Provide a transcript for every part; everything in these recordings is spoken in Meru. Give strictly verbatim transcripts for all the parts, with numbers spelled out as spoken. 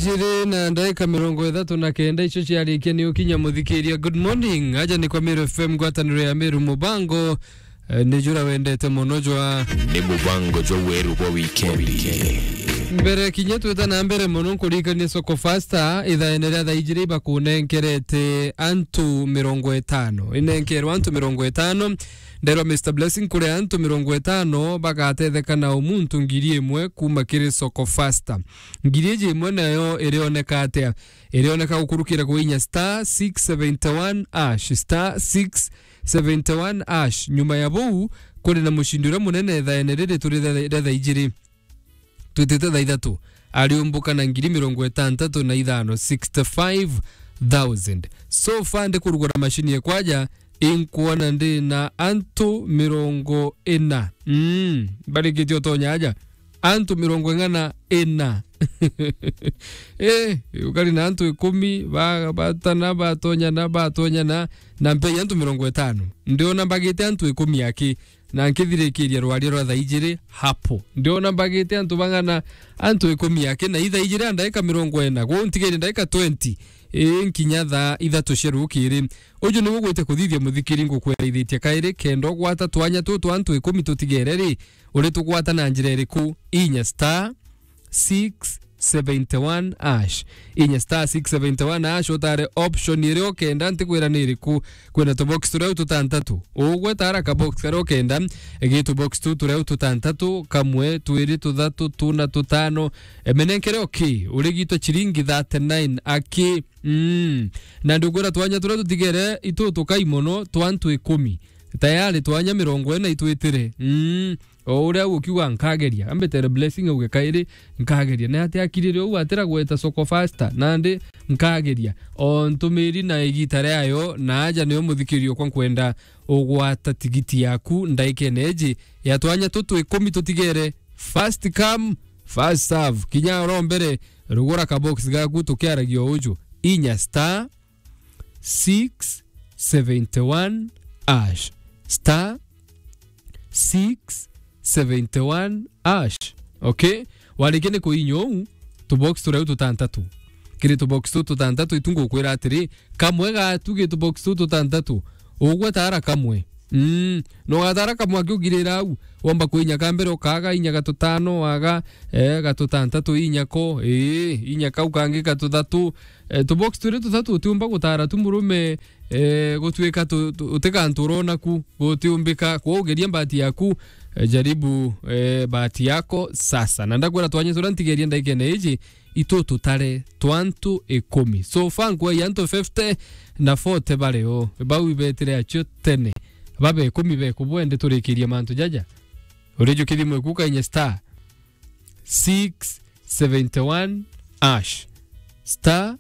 Ijiri na ndaika mirongo ithatu na kenda icio ciarikia ni ukinya muthikiria. Good morning. Aja ni kwa Meru F M, ngwataniro ya Meru Mubango. Eh, ni jura wendete mono jwa. Ni mubango jwa weru bwa wikendi. Mbere kinya twita na mbere mono, nkuririkanie Soko Fasta, ithaene ria thaa ijiri ibakunenkerete antu mirongo itano. Inenkerwe antu mirongo itano. Nderwa Mister Blessing, kuri antu mirongo itano bagatetheka na umuntu ngiri imwe kuma kiri Soko Fasta. Ngiri iji imwe nayo irioneka atia? Irioneka gukurukira kwinya star six seventy one hash, star six seventy one hash. Nyuma ya buu, kuri na mucindi uria munene ithaene riri turi ria, ria thaa ijiri. Twitite thaa ithatu, ariumbuka na ngiri mirongo itantatu na ithano, sixty five thousand. So far, ndikurugura macini ekwaja, inkwona ndi na antu mirongo ina. Mm, barikitie utonya aja. Antu mirongo ing'ana ina. Eh, ukari na antu ikumi, ba-, batana, batonyana, batonyana, na mpei antu mirongo itano. Ndiona mbagite antu ikumi aki, na nkithirikiria rwaria rwa thaa ijiri hapo. Ndiona mbagite antu bang'ana, antu ikumi aki, na ithaa ijiri na ndaika mirongo ina. Kwou ntigaire ndaika twenty, ii, nkinya thaa ithatu cia rukiri. Uju niwe gwite kuthithia muthikiri, ngukweraithitie kairi, kenda ugwata twanya tutu twa antu ikumi tutigere ri, uritugwata na njira iriku? Inya star six seventy one hash. Inya star six seventy one hash, utare option iria ukenda, ntikwira ni iriku. Kwina tubox turia tutantatu. Ugweta ara kabox karia ukenda, gi tubox tu turia tutantatu, kamwe, twiri, tuthatu, tuna, tutano. Emenenkere oki, urigitwe chiringi thirty nine aki. Mm. Na ndikwira twanya turia tutigere itu tukai mono twa antu ikumi. Tayari twanya mirongo ina itwitire. Mm. O uria ukiuga, "Nkageria." Ambitere Blessing auge kairi, "Nkageria." Na ati akirire uu atira gweta Soko Fasta, nandi, "Nkageria." O ntumiri na igita riayo, na aja niyo muthikiri okwa nkwenda ugwata tigiti yaku ndaikene iji ya twanya tutu ikumi tutigere. First come, first serve. Kinya oro mbere, rugura kabox gaku tukiaragia uju. Inya star six seventy one hash. Star six seventy one hash. Okay? Warikia ni kuinya uu, tubox turia tutantatu. Kiri tubox tu tutantatu, itu ngukwira atiri, kamwe gatu gi tubox tu tutantatu, ugweta ara kamwe. Mm, no gatara kamwe akiugirira au, womba kuinya ka mbere, ukaga inya gatutano, waga, eh, gatutantatu, inya ko, ii, inya kau kangi gatuthatu. Eh, tubox turi tuthatu utiumba gutara tu murume, eh, gutuika tu, tu, uti gantu urona ku, gutiumbika. Kwou geria mbati yaku, eh, jaribu, eh, bahati yako sasa. Na ndakwira twanya turia ntigerie ndaikene iji, itu tutare twa antu ikumi. So far nkwei antu fifty na forty bari o. Bau ibetire acio tene. Babe ikumi bekubwende turikirie mantu jaja. Urijukirie mwe kuka inye star six seventy one hash. Star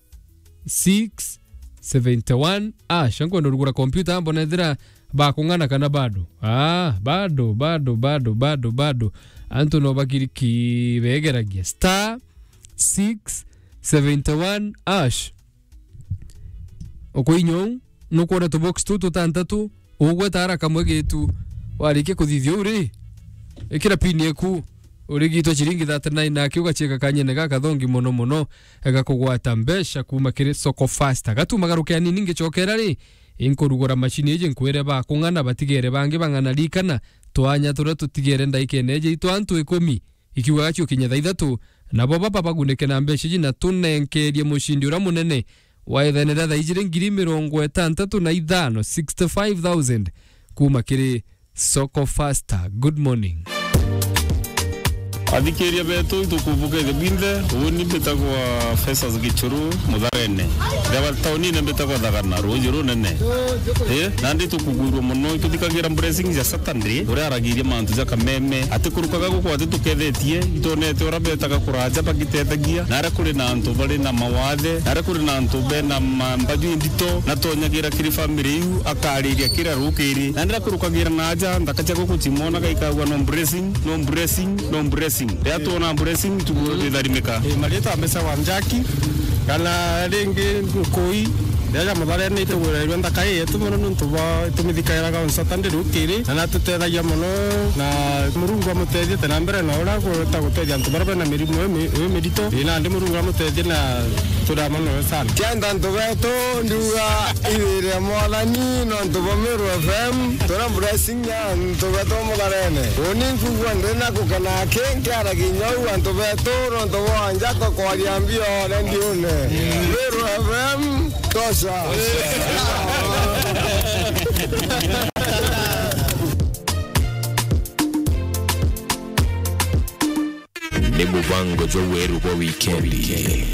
six seventy one hash. Ankwenda urugura kompyuta, mbona ethira bakung'ana kana bado? Ah, bado, bado, bado, bado, bado. Antu no bakiriki begeragia. Star six seventy one hash. Ukuinya uu, nukwona tubox tu tutantatu, ugweta ara kamwe gitu. Warikia kuthithia uu ri, ikira pin eku, urigitwa chiringi thirty nine, naki ugachiika kanyene gakathongi mono mono, gakugwata mbeca kuma kiri Soko Fasta. Gatuma garuke anini ngicokera ri, inkurugura macini iji nkwire bakung'ana batigere bangi bang'ana rikana, twanya turia tutigere ndaikene iji itwa antu ikumi. Ikiugaga ciukinya thaa ithatu, nabo baba bagunike na mbeca iji na tunenkerie mucindi uria munene wa ithene ria thaa ijiri ngiri mirongo itantatu na ithano, sixty five thousand, kuma kiri Soko Fasta. Good morning. Athikiria betu, itukumbuka ithe bwinthe. Uni mbitagwa Festus Gichuru, Mutharene. Ndeba taunine mbitagwa Thagana, ruuji runene. Eh, nandi tukugwirua mono, ituthikagira blessings ya Saturday, uria aragiria mantu ja kameme. Atikurukaga guku atitukethetie, itonete uria betaga kuraja bagitethegia, na aria kuri na antu bari na mawathe, na aria kuri na antu bena ma-, mbaju indito, na tonyagira kiri family iu, akariria kira rukiri. Na ndira kurukagira na aja, nthaka cia guku cimona gaikagua no blessing, no blessing, no blessing. Ria tuona blessing, tugwitharimika. Eh, marita mbesa wa Njaki, kana ringi Nkui, Jaja Mutharene itugwirairwe nthaka ii yetu mono niuntu bwa itumithikairaga on Saturday rukiri, na natutethagia mono, na Murungu amutethie te na mbere na uria agwita gutethia antu baria bena mirimu ii mi-, ii mirito. Ii nandi Murungu amutethie na turia mono sana. Kenda antu betu ndiuga ithire Mwathani nontu bwa Meru F M, tuna blessing ya antu betu Mutharene. Uni nkugua ndina gukena aki nkiaragia inya uu antu betu nontu bwa njato kwaria mbio redione. Meru F M, tosha. Ni mubango jwa weru bwa wikendi.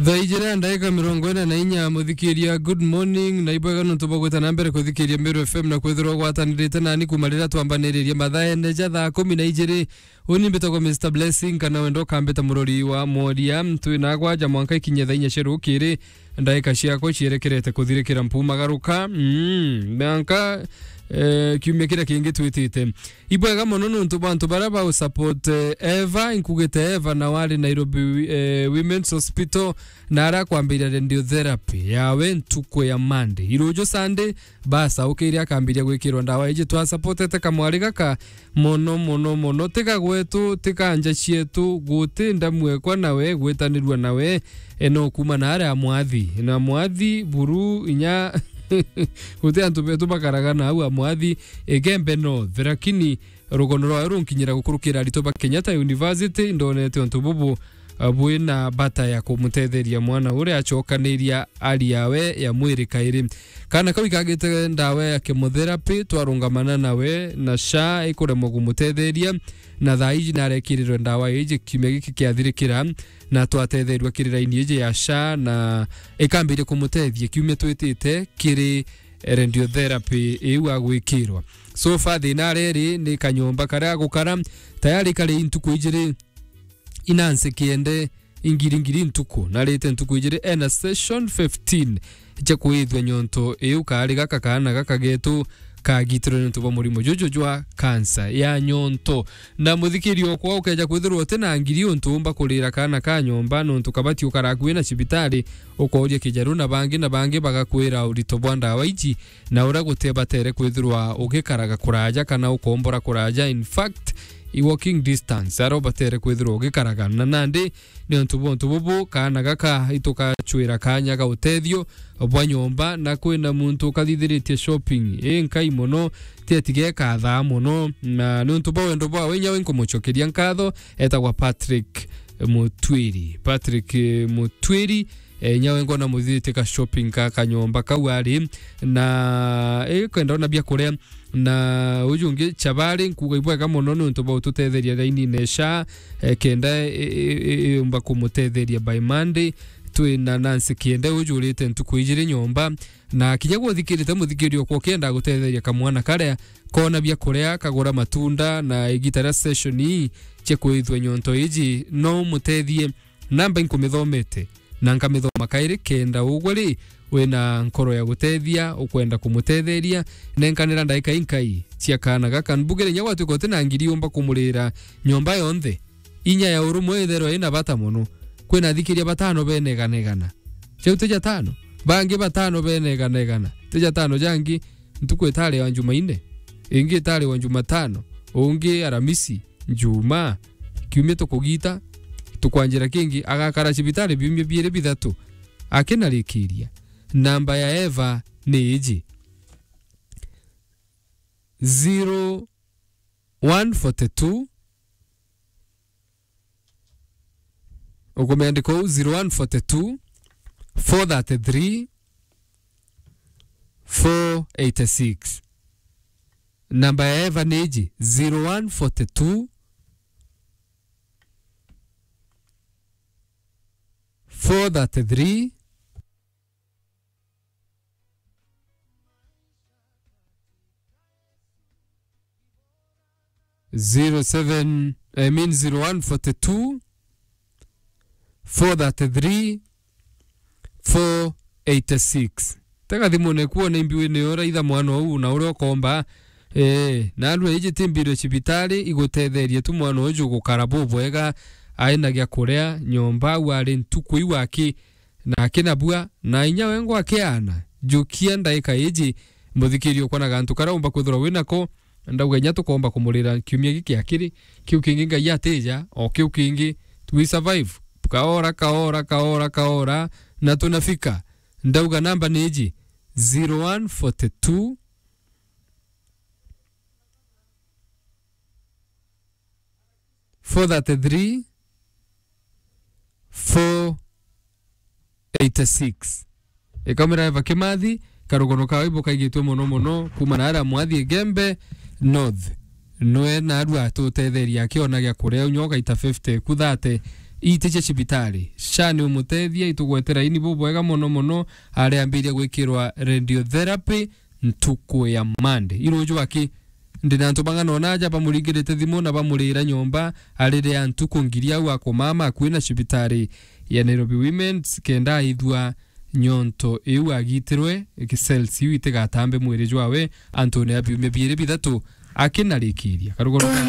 Thaa ijiri na ndaika mirongo ina na inya, muthikiria, good morning, na ibwega nontu bwa gwita na mbere kuthikiria Meru F M na kwithirwa ugwatanirite nani kuma riria twambaniririe mathaene ja thaa kumi na ijiri. Uni mbitagwa Mister Blessing, kana wenda ukambita murori wa mworia. Twina gwaja mwanka ikinye thaa inya cia rukiri, ndaika ciakwa cierekerete kuthirikira mpumagaruka. Mm, mwanka, eh, kiumia kiria kingi twitite. Ibwega mono nontu bwa antu baria ba support, eh, Eva, inkugite Eva na wari Nairobi, eh, Women's Hospital, na aria akwambiria radiotherapy yawe ntuku ya Monday. Iruju Sunday, basa, ukiria akambiria gwikirwa ndawa iji. Twa supportete kamwari gaka mono, mono, mono. Tiga gwetu, tiga nja cietu, guti ndamu ekwa nawe, gwitanirua nawe, e, no kuma na aria amwathi. Na mwathi, buru, inya, guti antu betu bakaraga na au amwathi, Igembe North. Lakini rugono rwawe runkinyira gukurukira aritwa ba Kenyatta University, ndonete untu bubu, a, bwina bata ya kumutetheria mwana uria acokaniria ari yawe ya mwiri kairi. Kaana kau ikagite ndawa ya chemotherapy, twarungamana nawe na SHA ikuremwa kumutetheria, na thaa iji narekirirwe ndawa iji kiumia giki kiathirikira, na twatetherua kiri raini iji ya SHA, na ikambiria kumutethia kiumia twitite kiri radiotherapy iu agwikirwa. So far thina areri ni kanyomba karia agukara, tayari kari ntuku ijiri inansi kiende ingiri ngiri ntuku, narite ntuku ijiri ena session fifteen cia kuithua nyonto iu. Kaari gaka kaana gaka getu kagitirwe niuntu bwa murimo juju jwa kansa ya nyonto. Na muthikiri okwa, ukeja kwithirwa uti na ngiri untu umba kurira kaana ka nyomba, nontu kabati ukara akui na cibitari, ukooria kijaru na bangi na bangi bagakwira urito bwa ndawa iji, na uria guti batere kwithirwa ugikaraga kuraja kana ukombora kuraja. In fact, i walking distance aria ubatere kwithirwa ugikaraga. Na nandi niuntu bwa untu bubu, kaana gaka itukacwira kanya ga utethio bwa nyomba, na kwina muntu ukathithiritie shopping inkai mono, ti ati gekathaa mono. Na niuntu bwa wendo bwawe, inya we nkumucokeria nkatho, etagwa Patrick Mutwiri. Patrick, eh, Mutwiri, eh, inya we ngona muthithiritie ka shopping ka kanyomba kau ari, na, eh, kwenda ona bia kuria. Na uju ungi Chabari, nkuuga ibwega mono niuntu bwa ututetheria raini-ine SHA, eh, kenda, eh, eh, eh, yumba kumutetheria by Monday. Twi na Nancy Kiende, uju urite ntuku ijiri nyomba. Na kinya gwe uthikirite, muthikiri okwa, ukienda gutetheria kamwana karia koona bia kuria, kagura matunda, na igita ria session ii cia kwithua nyonto iji, no umutethie. Namba inkumithomete, na nkamithoma kairi, kenda ugwe ri, wina nkoro ya gutethia, ukwenda kumutetheria, nenkanira ndaika inkai cia kaana gaka. Mbugire inya gwatuika uti na ngiri umba kumurira nyomba yonthe, inya ya urumwe itherwa ina bata mono. Kwina athikiria batano beneganegana. Jau ti jatano? Bangi batano beneganegana. Ti jatano jangi, ntuku itari wa Njumaine, ingi itari wa Njumatano, ungi Aramisi, Njumaa, kiumia tukugita, tukwanjira kingi, agakara cibitari biumia biiri bithatu, akinarikiria. Namba ya Eva ni iji: zero one forty two, ukumiandika uu, zero one forty two, four thirty three, four eighty six. Namba ya Eva ni iji: zero one forty two, four thirty three, zero seven, I mean, zero one forty two, four thirty three, four eighty six. Tega thimune kuo na imbi wine uraitha mwana uu na uria ukomba. Eh, na arua iji ti mbiro cibitari, igutetherie tu mwana uju gukara bubwega, aina gia kuria nyomba, au ari ntuku iu aki na akina bua, na inya wengwa akiana. Jukia ndaika iji, muthikiria ukwa na gantu karia umba kwithirwa wi nako, ndauga inya tukomba kumurira kiumia giki akiri, kiu kingi Ngai atija, o kiu kingi, we survive. Kaora, kaora, kaora, kaora, na tunafika. Ndauga namba ni iji, zero one forty two, four thirty three, four eighty six. Ikamira Eva Kimathi, karugono kawe ibo kaigitwe mono mono, kuma na aria Mwathi Igembe North. Nwe narua atutetheria akiona gia kuria, unya ugaita fifty ku thirty. Iti cia cibitari. Sha ni umutethia, itugwetera ini bubwega mono mono, aria ambiria gwikirwa radiotherapy ntuku ya Monday. Iruju aki, ndi na antu bang'ana ona aja bamuringirite thimu na bamurira nyomba, arire antu kungiria au akumama akui na cibitari ya Nairobi Women's, kenda aithua nyonto iu agitirwe, ki cells iu itigatambe mwiri jwawe antune ya biumia biiri bithatu akinarikiria. Karugono ka